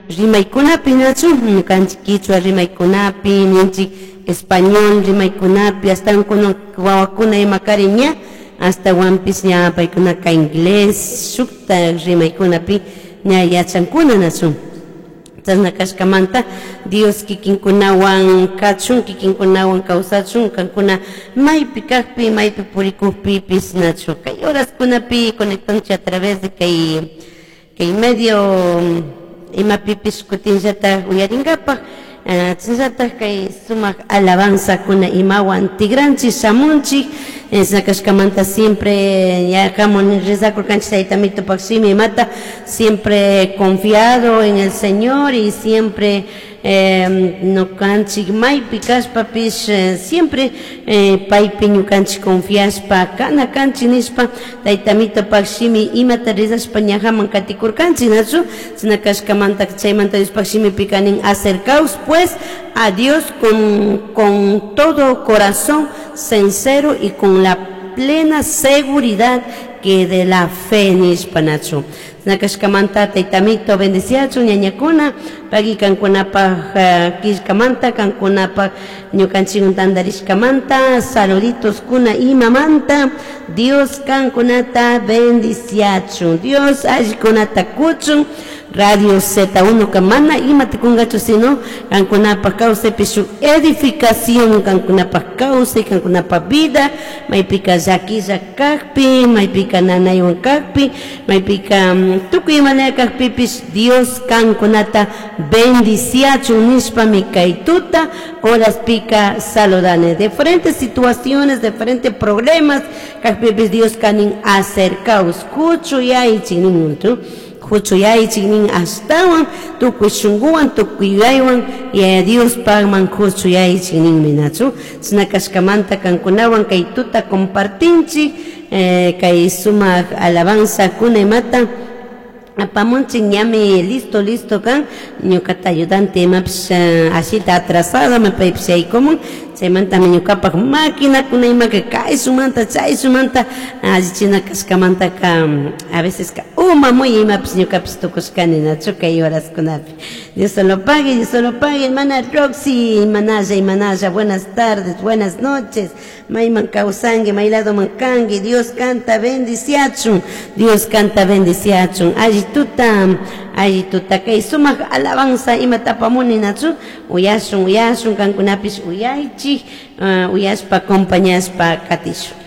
Rimaykunapi nachu ñukanchik kichwa rimaykunapi ninchik español rimaykunapi astawan kunan wawakuna imakari ña astawanpis ña paykunaka inglés shukta rimaykunapi ña yachankuna nachu. Chashna kashkamanta Dios kikinkunawan kachun, kikinkunawan kawsachun, kankuna maypi kakpi, maypi purikukpipis nachu. Kay horaskunapi conectanchik a través de kay medio imapipish kutinllatak uyarinkapak, chashnallatak kay sumak alabanzakuna imawan tigranchik shamunchik, chashna kashkamanta siempre yakamun rezakurkanchik Tayta Mitupak shimi imata siempre confiado en el Señor y siempre ñukanchik maypi kashpapish siempre paypi ñukanchik confiashpa kana kanchik nishpa Tayta Mitupak shimi imata rezashpa ñajaman katikurkanchik nachu. Chashna kashkamanta chaymanta Diospak shimipika nin: "Acercaos, pues, a Dios con todo corazón sincero y con la plena seguridad que de la fe" nishpa nachu. Chashna kashkamanta Tayta Mito bendiciachun ñañakuna pagui kankunapak killkamanta, kankunapak ñukanchik tandarishkamanta saluditos kuna imamanta. Dios kankunata bendiciachun, Dios allikunata kuchun. Radio Z1 ka mana imata kunkachu sino kankunapak kawsaypi shuk edificación, kankunapak kawsay, kankunapak vida, maypika llaquilla kakpi, maypika nanaywan kakpi, maypika tukuy imalaya kakpipish Dios kankunata bendiciachun nishpami kay tuta horaspika saludani. Diferentes situaciones, diferentes problemas kakpipis Dios kanin: "Acercaos, kuchuyaychik" nin, "kuchuyaychik" nin, astawan tukuy shunkuwan, tukuy yuyaywan Yaya Diospakman kuchuyaychik ninmi nachu. Chashna kashkamanta kankunawan kay tuta compartinchik kay sumak alabanza kuna imata apamunchik. Ñami listo, listo kan ñukata ayudante imapish ashita atrasado paypish yaykumun. Chaymantami ñukapak maquinakuna imaka kayshumanta chayshumanta allichina kashkamantaka a veces ka uma muy imapish ñukapish tukushkani nachu kay horaskunapi. Dios se lo pague, Dios se lo pague, hermana Roxy, imanalla, imanalla, buenas tardes, buenas noches. Mayman kawsanki, may ladoman kanki, Dios kanta bendiciachun, Dios kanta bendiciachun. Alli tuta, alli tuta, kay sumak alabanza imata apamuni nachu, uyashun, uyashun, kankunapish uyaychik, uyashpa, acompañashpa katishun.